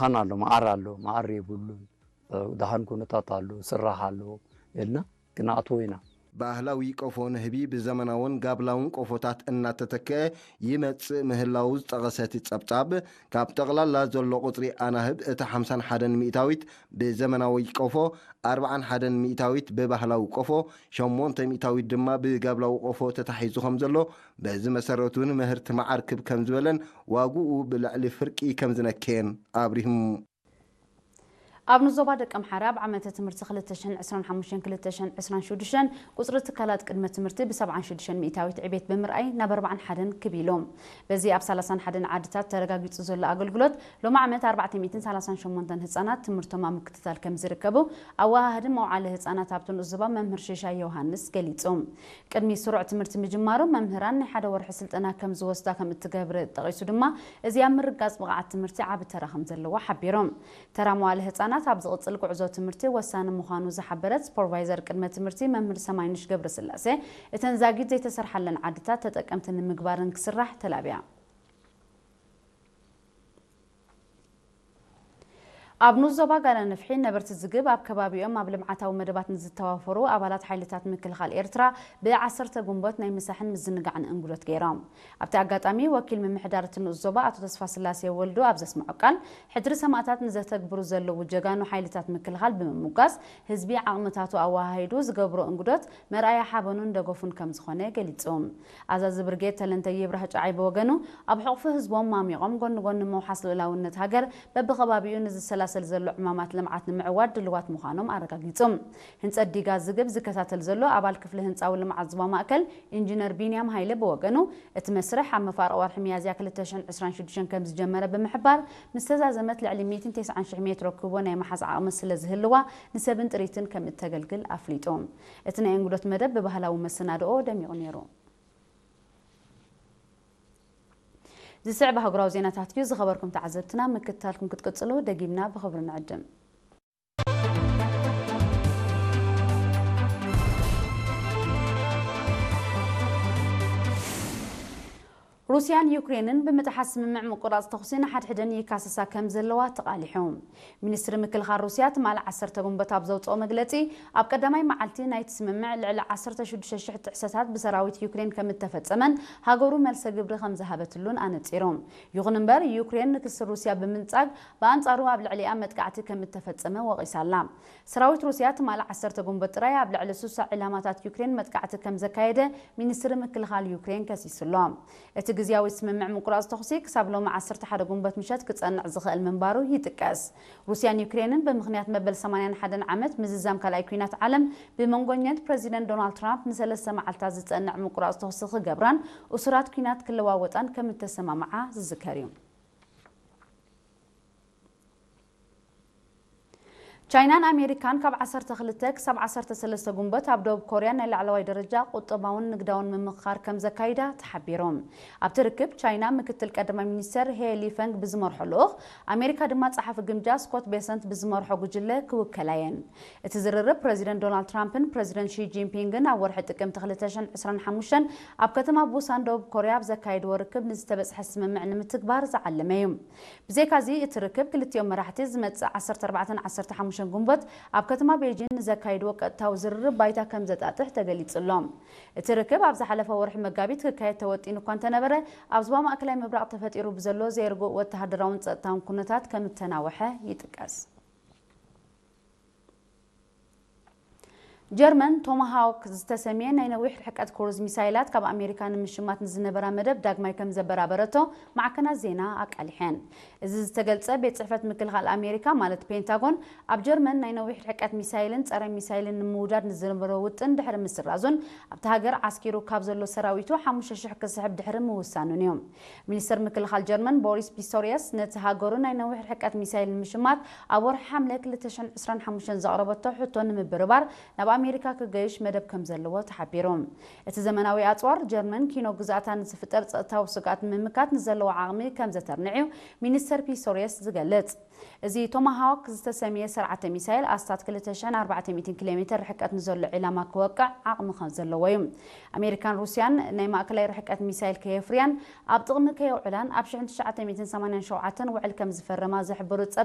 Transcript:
ኣን ኣሎ፣ መዓር ኣሎ፣ መዓር የብሉን። ደሃን ኩነታት ኣሎ፣ ስራሕ ኣሎ፣ ኢልና ክንኣትዎ ኢና። ባህላዊ ቆፎ ንህቢ ብዘመናውን ጋብላውን ቆፎታት እናተተክአ ይመጽእ ምህላው ዝጠቐሰ እቲ ጸብጻብ፣ ካብ ጠቕላላ ዘሎ ቁጽሪ ኣናህብ እታ ሓምሳን ሓደን ሚእታዊት ብዘመናዊ ቆፎ፣ ኣርብዓን ሓደን ሚእታዊት ብባህላዊ ቆፎ፣ ሸሞንተ ሚእታዊት ድማ ብጋብላዊ ቆፎ ተታሒዙ ከም ዘሎ፣ በዚ መሰረት እውን ምህርቲ መዓር ክብ ከም ዝበለን ዋግኡ ብልዕሊ ፍርቂ ከም ዝነከየን ኣብሪሁም። ኣብ ንዞባ ደቀምሓረ ኣብ ዓመተ ትምህርቲ ክልተ ሽሕን ዕስራን ሓሙሽተን ክልተ ሽሕን ዕስራን ሽዱሽተን ቁፅሪ ትካላት ቅድመ ትምህርቲ ብ ሰብዓን ሽዱሽተን ሚእታዊት ዕቤት ብምርኣይ ናብ ኣርብዓን ሓደን ክብ ኢሉ። በዚ ኣብ ሰላሳን ሓደን ዓድታት ተረጋጊፁ ዘሎ ኣገልግሎት ሎሚ ዓመት ኣርባዕተ ሚእትን ሰላሳን ሸሞንተን ህፃናት ትምህርቶም ኣብ ምክትታል ከም ዝርከቡ ኣወሃህዲ መውዓሊ ህፃናት ኣብቲ ንኡስ ዞባ መምህር ሽሻይ ዮሃንስ ገሊፁ። ቅድሚ ስሩዕ ትምህርቲ ምጅማሩ መምህራን ናይ ሓደ ወርሒ ስልጠና ከም ዝወስዳ ከም እትገብር ጠቒሱ ድማ እዚ ኣብ ምርጋፅ ብቕዓት ትምህርቲ ዓቢ ተራ ከም ዘለዎ ሓቢሩ። ተራ መዋለ ህፃናት ኣብ ዝቕፅል ጉዕዞ ትምህርቲ ወሳኒ ምዃኑ ዝሓበረት ሱፐርቫይዘር ቅድመ ትምህርቲ መምህር ሰማይንሽ ገብረስላሴ፣ እተን ዛጊድ ዘይተሰርሓለን ዓድታት ተጠቀምቲ ንምግባርን ክስራሕ ተላብያ። ኣብ ንኡስ ዞባ ጋላ ንፍሒ ነበርቲ ዝግብ ኣብ ከባቢኦም ኣብ ልምዓታዊ መደባት ንዝተዋፈሩ ኣባላት ሓይልታት ምክልኻል ኤርትራ ብዓሰርተ ጉንበት ናይ ምሳሕን ምዝንጋዕን እንግዶት ገይሮም። ኣብቲ ኣጋጣሚ ወኪል ምምሕዳር እቲ ንኡስ ዞባ ኣቶ ተስፋስላሴ ወልዱ ኣብ ዘስምዖ ቃል፣ ሕድሪ ሰማእታት ንዘተግብሩ ዘለዉ ጀጋኑ ሓይልታት ምክልኻል ብምሙጋስ፣ ህዝቢ ዓቕምታቱ ኣወሃሂዱ ዝገብሮ እንግዶት መርኣያ ሓበኑን ደገፉን ከም ዝኾነ ገሊጹ። ኣዛዚ ብርጌድ ተለንተ ይብራህ ጨዓይ ብወገኑ፣ ኣብ ሕቑፊ ህዝቦም ማሚቖም ጎኒ ጎኒ ምውሓስ ልኡላውነት ሃገር በብኸባቢኡ ንዝሰላሰል ዘሎ ዕማማት ልምዓት ንምዕዋት ድልዋት ምዃኖም ኣረጋጊጹ። ህንጸት ዲጋ ዝግብ ዝከታተል ዘሎ ኣባል ክፍሊ ህንጻዊ ልምዓት ዞባ ማእከል ኢንጂነር ቢንያም ሃይለ ብወገኑ፣ እቲ መስርሕ ኣብ መፋርቕ ወርሒ ሚያዝያ ክልተ ሽሕን ዕስራን ሽዱሽተን ከም ዝጀመረ ብምሕባር፣ ምስ ተዛዘመት ልዕሊ ሚእትን ተስዓን ሽሕ ሜትሮ ኩቦ ናይ ምሓዝ ዓቕሚ ስለ ዝህልዋ፣ ንሰብን ጥሪትን ከም እተገልግል ኣፍሊጡ። እቲ ናይ እንግዶት መደብ ብባህላዊ መሰናድኦ ደሚቑ ነይሩ። ዝስዕብ ኣህጉራዊ ዜናታት እዩ። ዝኸበርኩም ተዓዘብትና፣ ምክትታልኩም ክትቅጽሉ ደጊምና ብኽብሪ ንዕድም። ሩስያን ዩክሬንን ብምጥሓስ ስምምዕ ምቁራጽ ተኹሲ ንሓድሕደን ይካሰሳ ከም ዘለዋ ተቓሊሑ። ሚኒስትሪ ምክልኻል ሩስያ ትማሊ ዓሰርተ ጉንበት ኣብ ዘውጽኦ መግለጺ፣ ኣብ ቀዳማይ መዓልቲ ናይቲ ስምምዕ ልዕሊ ዓሰርተ ሽዱሽተ ሽሕ ጥሕሰታት ብሰራዊት ዩክሬን ከም እተፈጸመን ሃገሩ መልሰ ግብሪ ከም ዝሃበትሉን ኣነጺሩ። ይኹን እምበር፣ ዩክሬን ንክሲ ሩስያ ብምንጻግ ብኣንጻሩ ኣብ ልዕሊኣ መጥቃዕቲ ከም እተፈጸመ ወቒሳ ኣላ። ሰራዊት ሩስያ ትማሊ ዓሰርተ ጉንበት ጥራይ ኣብ ልዕሊ ስሳ ዒላማታት ዩክሬን መጥቃዕቲ ከም ዘካየደ ሚኒስትሪ ምክልኻል ዩክሬን ከሲሱ ኣሎ። እቲ ግዝያዊ ስምምዕ ምቁራጽ ተኹሲ ክሳብ ሎሚ ዓሰርተ ሓደ ጉንበት ምሸት ክጸንዕ ዝኽእል ምንባሩ ይጥቀስ። ሩስያን ዩክሬንን ብምኽንያት መበል ሰማንያን ሓደን ዓመት ምዝዛም ካልኣይ ኲናት ዓለም ብመንጎኛት ፕረዚደንት ዶናልድ ትራምፕ ንሰለስተ መዓልታት ዝጸንዕ ምቁራጽ ተኹሲ ክገብራን እሱራት ኲናት ክለዋወጣን ከም እተሰማምዓ ዝዝከር እዩ። ቻይናን ኣሜሪካን ካብ ዓሰርተ ክልተ ክሳብ ዓሰርተ ሰለስተ ጉንበት ኣብ ደቡብ ኮርያ ናይ ላዕለዋይ ደረጃ ቁጠባውን ንግዳውን ምምኽኻር ከም ዘካይዳ ተሓቢሩ። ኣብቲ ርክብ ቻይና ምክትል ቀዳማይ ሚኒስተር ሄ ሊፈንግ ብዝመርሖ ልኡኽ፣ ኣሜሪካ ድማ ጸሓፊ ግምጃ ስኮት ቤሰንት ብዝመርሖ ጉጅለ ክውከላ እየን። እቲ ዝርርብ ፕረዚደንት ዶናልድ ትራምፕን ፕረዚደንት ሺ ጂንፒንግን ኣብ ወርሒ ጥቅምቲ ክልተ ሽሕን ዕስራን ሓሙሽተን ኣብ ከተማ ቡሳን ደቡብ ኮርያ ኣብ ዘካየድዎ ርክብ ንዝተበጽሐ ስምምዕ ንምትግባር ዝዓለመ እዩ። ብዘይካዚ እቲ ርክብ ክልቲኦም መራሕቲ ዝመጽእ ዓሰርተ ኣርባዕተን ዓሰርተ ሓሙሽተን ጉንበት ኣብ ከተማ ቤጂን ንዘካይድዎ ቀጥታዊ ዝርርብ ባይታ ከም ዘጣጥሕ ተገሊጹ ኣሎ። እቲ ርክብ ኣብ ዝሓለፈ ወርሒ መጋቢት ክካየድ ተወጢኑ እኳ እንተነበረ፣ ኣብ ዞባ ማእከላይ ምብራቕ ተፈጢሩ ብዘሎ ዘይርጉእ ወተሃደራውን ጸጥታውን ኩነታት ከም እተናወሐ ይጥቀስ። ጀርመን ቶማሃውክ ዝተሰምየ ናይ ነዊሕ ርሕቀት ክሩዝ ሚሳይላት ካብ ኣሜሪካ ንምሽማት ንዝነበራ መደብ ዳግማይ ከም ዘበራበረቶ ማዕከናት ዜና ኣቃሊሐን። እዚ ዝተገልጸ ቤት ጽሕፈት ምክልኻል ኣሜሪካ ማለት ፔንታጎን ኣብ ጀርመን ናይ ነዊሕ ርሕቀት ሚሳይልን ጸረ ሚሳይልን ንምውዳድ ንዝነበሮ ውጥን ድሕሪ ምስራዙን ኣብቲ ሃገር ዓስኪሩ ካብ ዘሎ ሰራዊቱ ሓሙሽተ ሽሕ ክስሕብ ድሕሪ ምውሳኑን እዩ። ሚኒስተር ምክልኻል ጀርመን ቦሪስ ፒስቶሪየስ ነቲ ሃገሩ ናይ ነዊሕ ርሕቀት ሚሳይል ንምሽማት ኣብ ወርሒ ሓምለ ክልተ ሽሕን ዕስራን ሓሙሽተን ዘቕረበቶ ሕቶ ንምብርባር ናብ ኣሜሪካ ክገይሽ መደብ ከም ዘለዎ ተሓቢሩ። እቲ ዘመናዊ ኣጽዋር ጀርመን ኪኖ ግዝኣታ ንዝፍጠር ጸጥታዊ ስግኣት ንምምካት ንዘለዎ ዓቕሚ ከም ዘተርንዕ እዩ ሚኒስተር ፒስቶሪየስ ዝገልጽ። እዚ ቶማሃውክ ዝተሰምየ ሰርዓተ ሚሳይል ኣስታት ክልተ ሽሕን ኣርባዕተ ሚእትን ኪሎ ሜተር ርሕቀት ንዘሎ ዒላማ ክወቅዕ ዓቕሚ ከም ዘለዎ እዩ። ኣሜሪካን ሩስያን ናይ ማእከላይ ርሕቀት ሚሳይል ከየፍርያን ኣብ ጥቕሚ ከየውዕላን ኣብ ሽሕን ትሽዓተ ሚእትን ሰማንያን ሸውዓተን ውዕል ከም ዝፈረማ ዝሕብሩ ጸብጻብ